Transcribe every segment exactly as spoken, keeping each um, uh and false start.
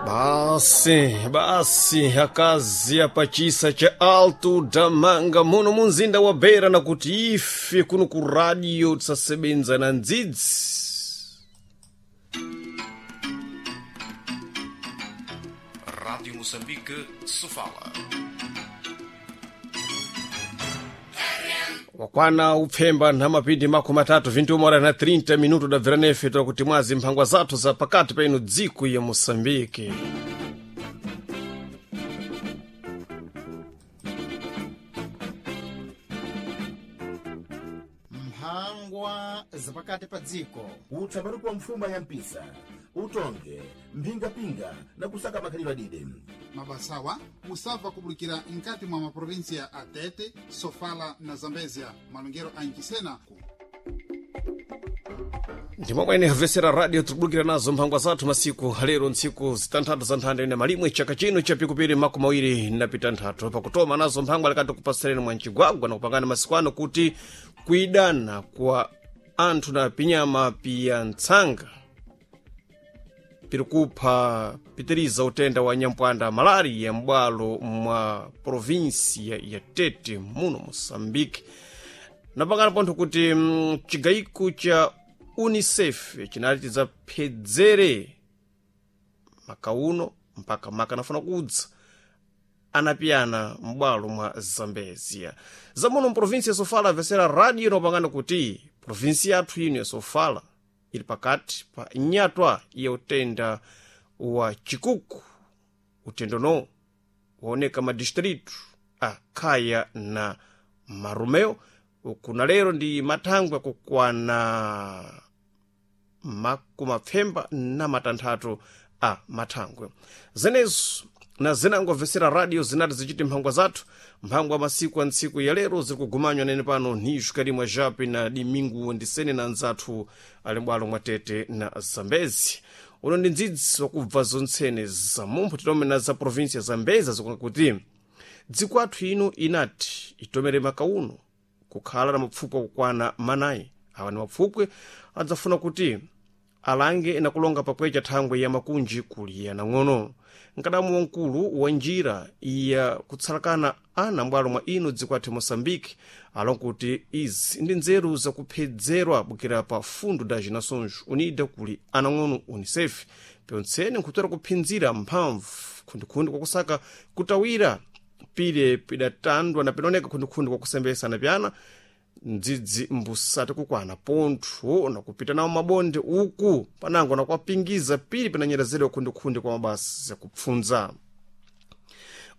Basi basi akazi apachisa cha Alto da Manga muno munzinda wa Beira na kuti ife kuno ku radio tisasebenza na ndzidzi. Rádio Moçambique, Sofala. Wakwana upfemba na mapindi makumi matatu vinte horas na trinta minuto dabvera nefe tola kuti mwazi mphangwa zathu za pakati pa ino dziko ya Moçambique. Mphangwa zapakati pa dziko. Utsambaruko wa mfuma ya mpisa, utonge mphingapinga na kusaka makhalidwe adide. Mabasawa musabva kubulikira nkati mwa maprovinsia a Tete, Sofala na Zambezia, malongero a Ncisena. Ndimwamwene havesera radio tikubulukira nazo mphangwa zathu masiku lero ntsiku zitanthatu za nthanda ine malimwe chaka chino cha pikupiri makumi awiri na pitanthatu pakutoma nazo mphangwa likati kupasireni mwa mcigwagwa na kupangana masiku ano kuti kuidana kwa anthu na pinyama piya ntsanga pirikupha pitiriza utenda wa nyampwanda malaria m'bwalo mwa provinsia ya Tete muno Moçambique. Napangana pontho kuti mm, chigayiko cha UNICEF chinali tidzaphedzere makauno mpaka maka nafuna kudza anapiyana m'bwalo mwa Zambezia. Zamuno mprovinsi ya Sofala avesera radio inopangana kuti provinsi yathu ino ya Sofala ili pakati pa nyatwa ya utenda wa chikuku. Utendo no waoneka madistritu a Khaya na Marumeo kuna lero ndi mathangwe akukwana makumapfemba na matanthatu a mathangwe. Zenezo na zinangomvesera radio zinati zichiti mphangwa zathu mphangwa masiku a ntsiku ya lero ziri kugumanywa nene pano ni Karimwa Jape na Dimingu ndisene na anzathu ali m'bwalo mwa Tete na Zambezi. Uno ndi ndzidzi wakubva zontsene za mumpho titome na za provinsi ya Zambezi zikunga kuti dziko athu ino inati itomere makauno kukhala na mapfupwe akukwana manayi. Awa ni mapfupwe adzafuna kuti alange na kulonga pakwecha thangwe ya makunji kuliya nang'ono. Nkadamu wamkulu wa njira ya kutsalakana ana m'bwalo mwa ino dziko athu Moçambique alonga kuti izi ndi nzeru zakuphedzerwa bukira pa Fundo das Nações Unidas kuli anang'ono UNICEF pyontsene nkhutera kuphinzira mphamvu khundikhundi kwakusaka kutawira pile pidatandwa na pinaoneka khundikhundi kwakusembesa na pyana ndzidzi mbusati kukwana pontho na kupita nawo mabonde uku panango na kwapingiza pili pinanyerezedwa khundikhundi kwa mabasa yakupfunza.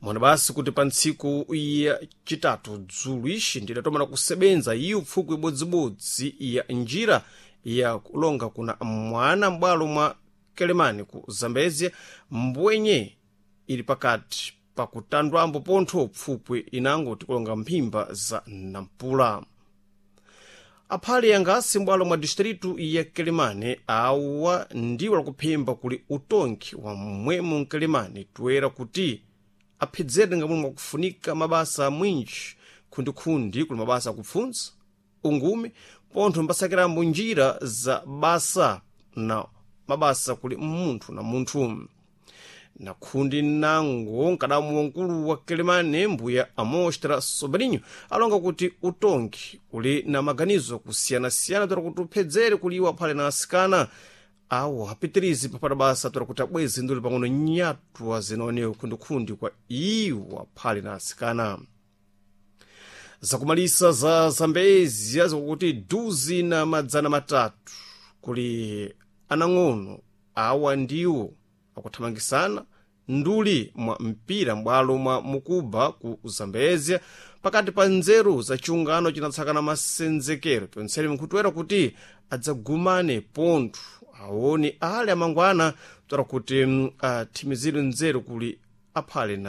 Mona basi kuti pa ntsiku ya chitatu dzulu ixi ndidatomana kusebenza iyo pfukwi ibodzibodzi ya njira ya kulonga kuna mwana m'bwalo mwa Kelemani ku Zambezia mbwenye ili pakati pakutandwambo pontho pfupwi inango tikulonga mphimba za Nampula. Aphale yangasi m'bwalo mwa distritu ya Kelemane awa ndiwo lakuphimba kuli utonki wa mmwemo mkelemane toera kuti aphedzere ngamwe mwakufunika mabasa mwinji khundikhundi kuli mabasa akupfunza ungumi pontho mbasakirambo njira za basa na mabasa kuli munthu na munthu. Na khundi nango nkadamu wamkulu wa Kelemane mbuya Amostra Sobrinho alonga kuti utongi uli na maganizo kusiyanasiyana toera kuti uphedzere kuliwa aphale na asikana awo apitirizi papata basa toera kuti abweze nduli pang'ono nyatwa zinaonewa khundikhundi kwa iwo aphale na asikana. Zakumalisa za Zambezia zikuti duzi na madzana matatu kuli anang'ono awa ndiwo akuthamangisana nduli mwa mpira m'bwalo mwa Mukuba ku Zambezia pakati pa nzeru za chiungano chinatsakana masenzekero pyontsene mkhutuwera kuti adzagumane pontho aone ale amangwana toera kuti athimizire nzeru kuli aphale na